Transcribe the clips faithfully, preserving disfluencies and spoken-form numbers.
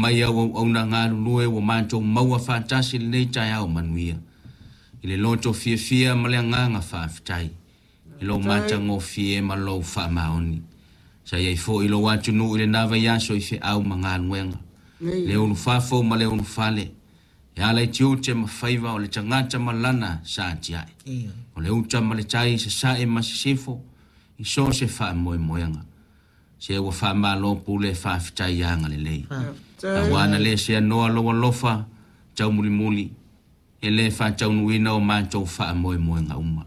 mai au auauna galulue ua matou maua faatasi lenei taeao manuia. I le loto fiafia ma le agaga faafetai i lou matagofie ma lou faamaoni. Sa i ai foi lou atunuu i lena vaiaso i feau ma galuega, le ulufafo ma le ulufale, e ala i tiute ma faiva o le tagata ma lana sa atiae. O le uta ma le tai i sasae ma sisifo i so o se faamoemoega. Se ua faamalo pule faafetai agalelei. Aua na le seanoa lou alofa taumulimuli e le faataunuuina o matou faamoemoega uma.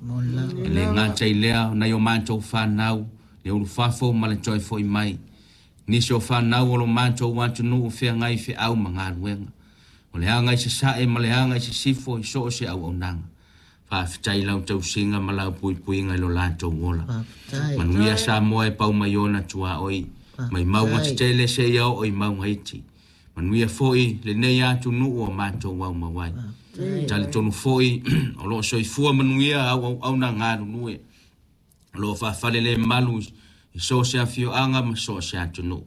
E le gata i lea o nai o matou fanau, le ulufafo ma le toe foi mai. Nisi o fanau o lo matou atunuu feagai feau ma galuega. O le aga i sasae ma le aga i sisifo i so o se auaunaga. Faafetai lau tausiga ma lau puipuiga i lo latou ola. Manuia Samoa e pau mai ona tuaoi, mai mauga tetele seia oo i mauga iti. Manuia foi lenei atunuu o matou aumau ai. Talitonu foi o loo soifua manuia au auauna galulue. O loo faafale le malu i so o se afioaga ma so o se atunuu.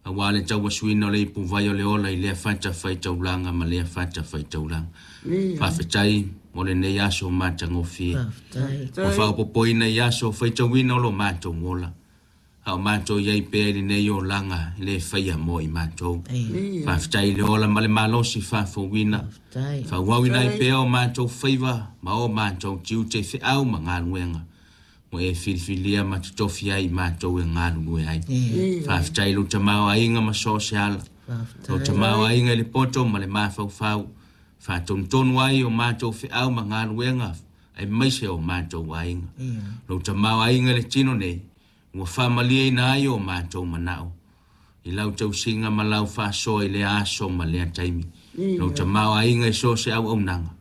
Aua le tauasuina o le ipuvai o le ola i lea fatafaitaulaga ma lea fatafaitaulaga. Faafetai mo lenei aso matagofie. Ua faaopoopoina i aso faitauina o lo matou ola. A o matou i ai pea i lenei olaga e le faia mo i matou. Faafetai i le ola ma le malosi faafouina. Faaauauina ai pea o matou faiva ma o matou tiute i feau ma galuega ua e filifilia ma totofi ai i matou e galulue ai. Faafetai i lou tamaoaiga ma so o se ala. Lou tamaoaiga i le poto ma le mafaufau. Faatonutonu ai o matou feau ma galuega aemaise o matou aiga. Lou tamaoaiga i le tino nei ua faamalieina ai o matou manao i lau tausiga ma lau faasoa i lea aso ma lea taimi. Lou tamaoaiga i so o se auaunaga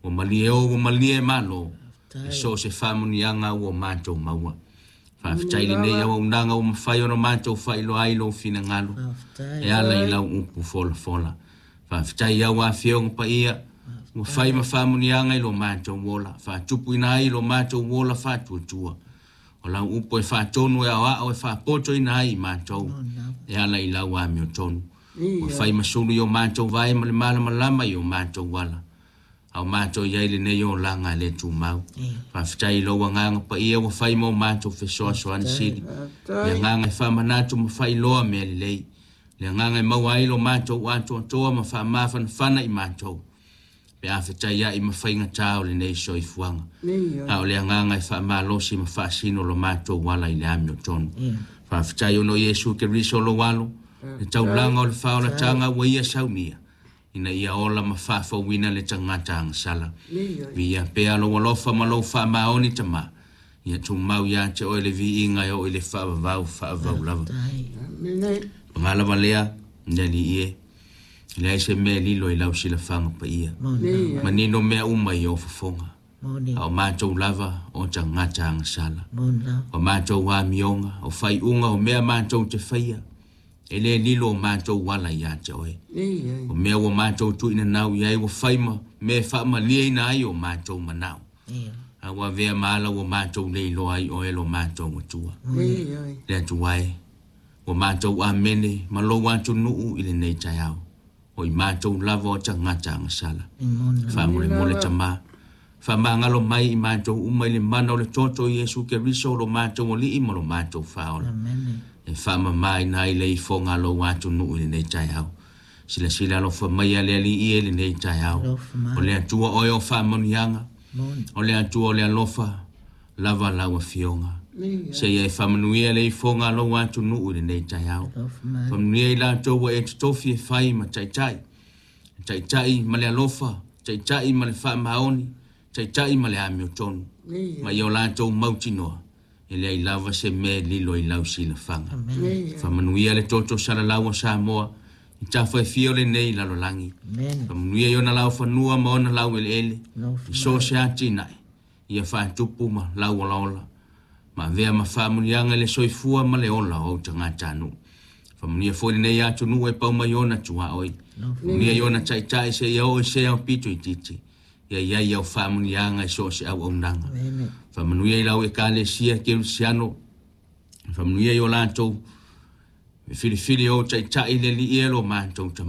ua malie o ua malie malo i so o se faamuniaga ua matou maua. Faafetai i lenei auaunaga ua mafai ona matou faailoa ai lou finagalo e ala i lau upu folafola. Faafetai i au afioga paia ua fai ma faamuniaga i lo matou ola, faatupuina ai lo matou ola faatuatua. O lau upu e faatonu e aoao e faapotoina ai i matou e ala i lau amiotonu. Ua fai ma sulu i o matou vae ma le malamalama i o matou ala. A o matou i ai lenei olaga e le tumau. Faafetai i lou agaga paia ua fai ma o matou fesoasoani sili. Le agaga e faamanatu ma faailoa mea lelei. Le agaga e maua ai lo matou atoatoa ma faamafanafana i matou. Pe a fetaiai ma faigata o lenei soifuaga. A o le agaga e faamalosi ma faasino lo matou ala i le amiotonu. Faafetai ona o Iesu Keriso lou alo, le taulaga o le faaolataga ua ia saunia, ina ia ola ma faafouina le tagata agasala. Viia pea lou alofa ma lou faamaoni tama, ia tumau ia te oe le viiga e oo i le faavavau faavavau lava. Paga lava lea, le Alii e, e leai se mea e lilo i lau silafaga paia. Manino mea uma i ou fofoga. A o matou lava o tagata agasala. O matou amioga, o faaiuga o mea matou te faia, e le lilo o matou ala ia te oe. O mea ua matou tuuina nau i ai ua fai ma mea e faamalieina ai o matou manao. A ua avea ma ala ua matou le iloa ai oe lo matou Atua. Le Atua e, ua matou amene ma lou atunuu i lenei taeao. O i matou lava o tagata agasala. Faamolemole tama, faamagalo mai i matou uma i le mana o le toto o Iesu Keriso lo matou Alii ma lo matou Faaola. E faamamaina ai le ifoga a lou atunuu i lenei taeao. Silasila alofa mai a le Alii e lenei taeao. O le Atua oe o faamanuiaga, o le Atua o le alofa, lava lau afioga. Seia e faamanuia le ifoga a lou atunuu i lenei taeao. Faamanuia i latou ua e totofi e fai ma taitai. Taitai ma le alofa, taitai ma le faamaoni, taitai ma le amiotonu. Ma ia o latou mautinoa, e leai lava se mea e lilo i lau silafaga. Faamanuia le toto salalau o Samoa, i tafa e fia o lenei lalolagi. Faamanuia i ona laufanua ma ona laueleele, i so o se atinae, ia faatupu ma lauolaola. Ma avea ma faamanuiaga i le soifua ma le ola o ou tagatanuu. Faamanuia foi lenei atunuu e pau mai ona tuaoi. Faamanuia i ona taitai seia oo i se aupito itiiti. Ia i ai au faamanuiaga i so o se auaunaga. Faamanuia i lau ekalesia kerisiano. Faamanuia i o latou filifili o taitai le Alii e lo matou tama.